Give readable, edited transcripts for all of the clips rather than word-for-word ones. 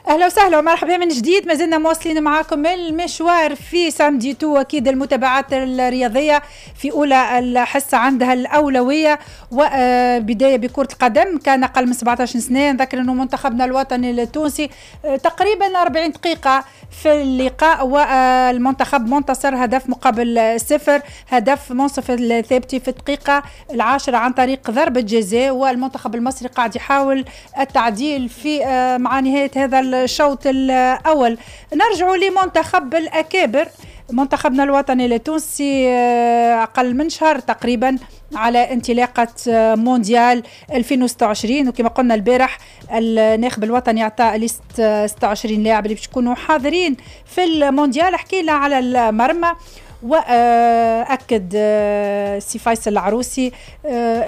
اهلا وسهلا ومرحبا من جديد، ما زلنا مواصلين معاكم المشوار في samedi tout. اكيد المتابعات الرياضية في اولى الحصة عندها الاولوية، وبداية بكره القدم. كان اقل من 17 سنة، نذكر انه منتخبنا الوطني التونسي تقريبا 40 دقيقة في اللقاء والمنتخب منتصر هدف مقابل صفر، هدف منصف الثابتي في الدقيقة 10 عن طريق ضربه جزاء، والمنتخب المصري قاعد يحاول التعديل في مع نهاية هذا الشوط الأول. نرجع لمنتخب الأكابر، منتخبنا الوطني التونسي أقل من شهر تقريبا على انطلاقة مونديال 2026، وكما قلنا البارح الناخب الوطني اعطى liste 26 لاعب اللي باش يكونوا حاضرين في المونديال. حكينا على المرمى، واكد سي فيصل العروسي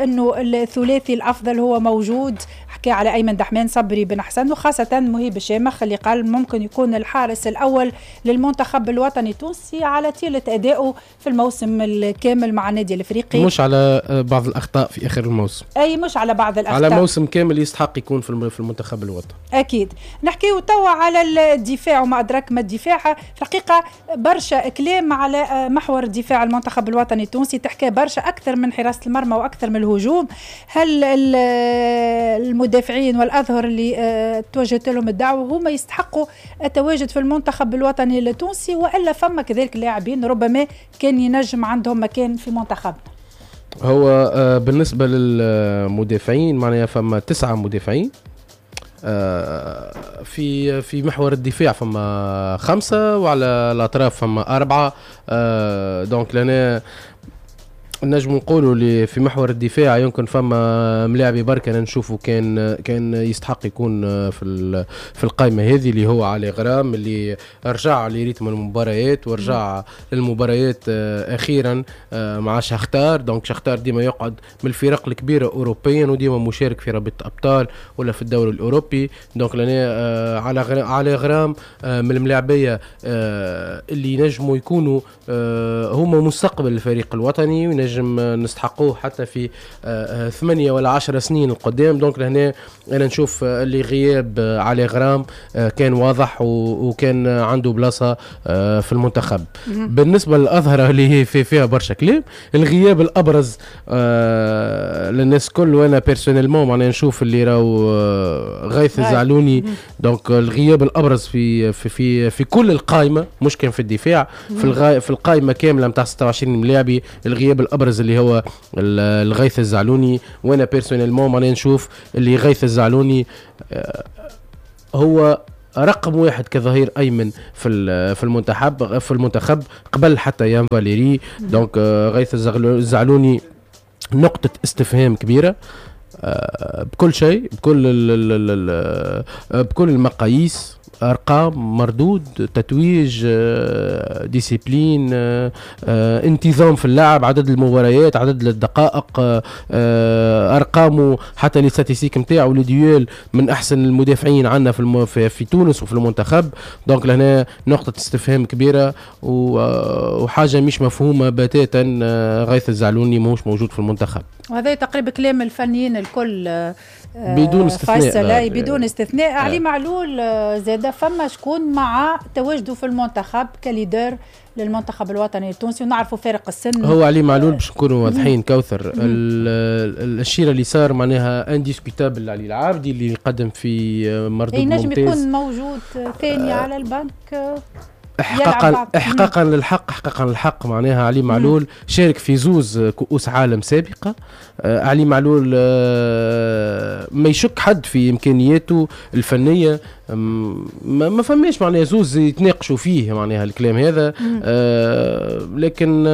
انه الثلاثي الافضل هو موجود. حكى على ايمن دحمان، صبري بن حسن، وخاصة مهيب الشامخ اللي قال ممكن يكون الحارس الاول للمنتخب الوطني التونسي على طيلة ادائه في الموسم الكامل مع النادي الافريقي، مش على بعض الاخطاء في اخر الموسم. اي مش على بعض الاخطاء، على موسم كامل يستحق يكون في المنتخب الوطني. اكيد. نحكيو توا على الدفاع وما ادراك ما الدفاع. في الحقيقة برشا كلام على محور الدفاع المنتخب الوطني التونسي، تحكي برشا اكثر من حراسة المرمى واكثر من الهجوم. هل المدافعين والاظهر اللي توجهت لهم الدعوة هما يستحقوا التواجد في المنتخب الوطني التونسي، والا فما كذلك لاعبين ربما كان ينجم عندهم مكان في منتخبنا؟ هو بالنسبة للمدافعين معناها فما 9 مدافعين في محور الدفاع، فما 5 وعلى الاطراف فما 4. donc لنا نجم نقولوا اللي في محور الدفاع يمكن فما ملاعبي بركة انا نشوفه كان يستحق يكون في القائمة هذه، اللي هو علي غرام اللي رجع ل rythme المباريات ورجع للمباريات اخيرا مع شختار. donc شختار ديما يقعد من الفرق الكبيرة اوروبيا وديما مشارك في رابطه ابطال ولا في الدوري الاوروبي. donc لنا علي غرام من الملاعبيه اللي ينجموا يكونوا هما مستقبل الفريق الوطني ونجم نستحقوه حتى في 8 ولا 10 سنين القدام. donc لهنا انا نشوف اللي غياب علي غرام كان واضح وكان عنده بلاصة في المنتخب. بالنسبة للاظهره اللي هي فيها برشا كلام، الغياب الابرز للناس كل وانا personnellement معناها نشوف اللي راهو غيث الزعلوني. donc الغياب الابرز في في في, في كل القائمة، مش كان في الدفاع، في القائمة كاملة نتاع 26 ملاعبي، الغياب الابرز اللي هو الغيث الزعلوني. وانا personnellement معناها نشوف اللي غيث الزعلوني هو رقم 1 كظهير ايمن في المنتخب قبل حتى يان فاليري. donc غيث الزعلوني نقطة استفهام كبيرة بكل شيء، بكل المقاييس، ارقام، مردود، تتويج، discipline، انتظام في اللعب، عدد المباريات، عدد الدقائق، ارقامه، حتى les statistiques نتاعو، les duels، من احسن المدافعين عندنا في تونس وفي المنتخب. donc لهنا نقطة استفهام كبيرة وحاجه مش مفهومه بتاتا، غيث الزعلوني ماهوش موجود في المنتخب. وهذا تقريبا كلام الفنيين الكل بدون استثناء. بدون استثناء. علي معلول زاد فما شكون مع تواجده في المنتخب ك leader للمنتخب الوطني التونسي، ونعرفوا فارق السن. هو علي معلول باش نكونوا واضحين كوثر، الشيره اللي صار معناها indiscutable علي العابدي اللي قدم في مردود ممتاز، ينجم يكون موجود ثاني على البنك. احقاقا للحق، احقاقا للحق معناها علي معلول شارك في 2 كؤوس عالم سابقه. علي معلول ما يشك حد في امكانياته الفنية، ما فماش معناها زوز يتناقشوا فيه معناها الكلام هذا. لكن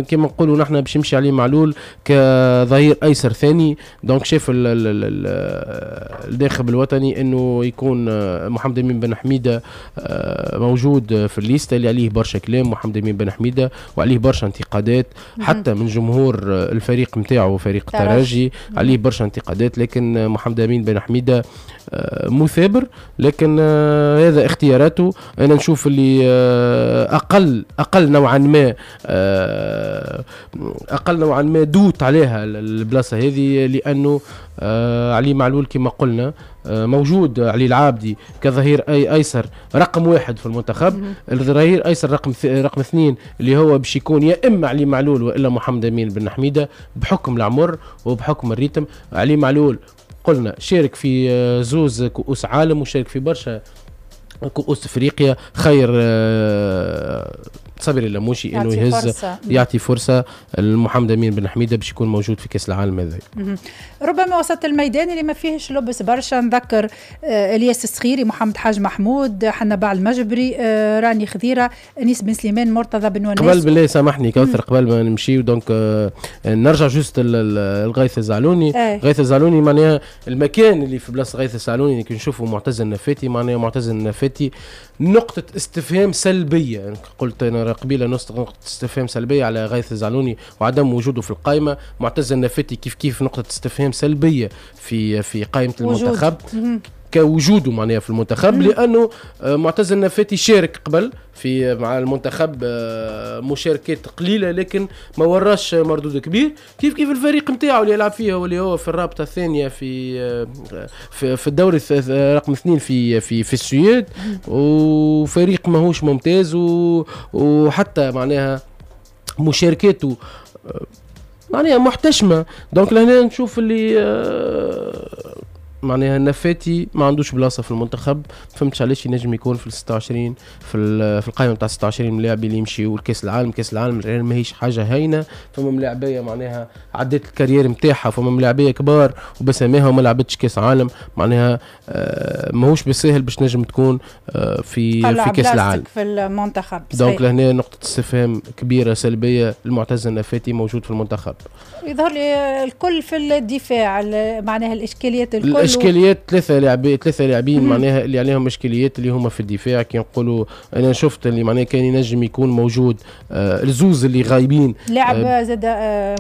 كما نقولوا نحن باش يمشي علي معلول كظهير ايسر ثاني. donc شاف الناخب الوطني انه يكون محمد امين بن حميده موجود في الليستة اللي عليه برشا كلام، محمد امين بن حميده وعليه برشا انتقادات حتى من جمهور الفريق نتاعو فريق الترجي، عليه برشا انتقادات، لكن محمد امين بن حميده مثابر، لكن هذا اختياراته. انا نشوف اللي اقل نوعا ما، اقل نوعا ما doute عليها البلاصة هذه، لانه علي معلول كما قلنا موجود، علي العابدي كظهير ايسر رقم 1 في المنتخب، الظهير ايسر رقم 2 اللي هو باش يكون يا اما علي معلول والا محمد امين بن حميده، بحكم العمر وبحكم ال rythme. علي معلول قلنا شارك في زوز كؤوس عالم وشارك في برشا كؤوس افريقيا. خير صبري اللموشي انه يهز فرصة. يعطي فرصة لمحمد امين بن حميده باش يكون موجود في كاس العالم هذا. ربما وسط الميدان اللي ما فيهش لبس برشا، نذكر الياس الصخيري، محمد حاج محمود، حنبعل المجبري، راني خذيره، انيس بن سليمان، مرتضى بن وناس. قبل بالله سامحني كوثر، قبل ما نمشي donc نرجع juste الغيث الزعلوني. غيث الزعلوني معناها المكان اللي في بلاصة غيث الزعلوني كي نشوفوا معتز النفاتي، معناها معتز النفاتي نقطة استفهام سلبية. قلت أنا قبيلة نقطة استفهام سلبية على غيث الزعلوني وعدم وجوده في القائمة. معتز النفاتي كيف كيف نقطة استفهام سلبية في قائمة المنتخب كوجوده معناها في المنتخب، لانه معتز النفاتي شارك قبل في مع المنتخب مشاركات قليله لكن ما وراش مردود كبير. كيف كيف الفريق نتاعو اللي يلعب فيه واللي هو في الرابطة الثانية في الدوري رقم 2 في السويد، وفريق ماهوش ممتاز، وحتى معناها مشاركاته معناها محتشمه. donc لهنا نشوف اللي معناها النفاتي ما عندوش بلاصة في المنتخب. فهمتش علاش ينجم يكون في ال 26، في القائمة نتاع 26 ملاعب اللي يمشيوا لكاس العالم. كاس العالم ماهيش حاجة هينه، فما ملاعبيه معناها عدت ال carrière نتاعها، فما ملاعبيه كبار وبسماها وما لعبتش كاس عالم. معناها ماهوش بالساهل باش نجم تكون في كاس العالم في المنتخب. donc لهنا نقطة استفهام كبيرة سلبية المعتز النفاتي موجود في المنتخب. يظهر لي الكل في الدفاع، معناها الاشكاليات الكل. الاشكاليات ثلاثه لاعبين معناها اللي عليهم اشكاليات اللي هما في الدفاع. كي نقولوا انا شفت اللي معناها كان ينجم يكون موجود الزوز اللي غايبين. لاعب زاد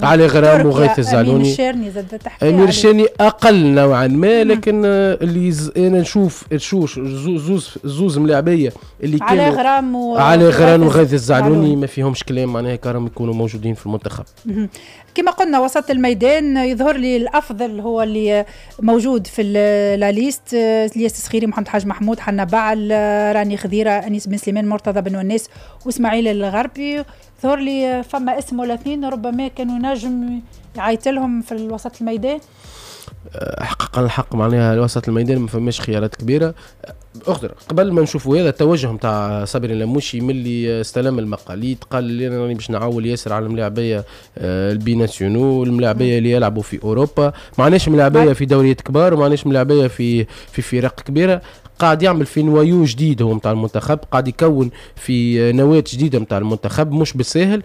علي غرام وغيث الزعلوني. امير الشارني زاد تحكي. امير الشارني اقل نوعا ما، لكن اللي انا نشوف نشوف زوز ملاعبيه اللي كانوا علي غرام علي غرام وغيث الزعلوني ما فيهمش كلام، معناها كرم يكونوا موجودين في المنتخب. كما قلنا وسط الميدان يظهر لي الافضل هو اللي موجود في la liste: الياس الصخيري، محمد حاج محمود، حنبعل، راني خذيره، انيس بن سليمان، مرتضى بن وناس واسماعيل الغربي. ظهر لي فما اسم ولا اثنين ربما كانوا نجم يعيط لهم في الوسط الميدان. حقا الحق معناها وسط الميدان ما فماش خيارات كبيره. اخضر قبل ما نشوفوا هذا التوجه نتاع صابر اللموشي، ملي استلم المقاليد قال لي انا راني باش نعول ياسر على الملاعبيه ال binationaux، الملاعبيه اللي يلعبوا في اوروبا. ما عندناش ملاعبيه في دوريات كبار وما عندناش ملاعبيه في فرق كبيره. قاعد يعمل في noyau جديد هو نتاع المنتخب، قاعد يكون في نواه جديدة نتاع المنتخب، مش بالساهل.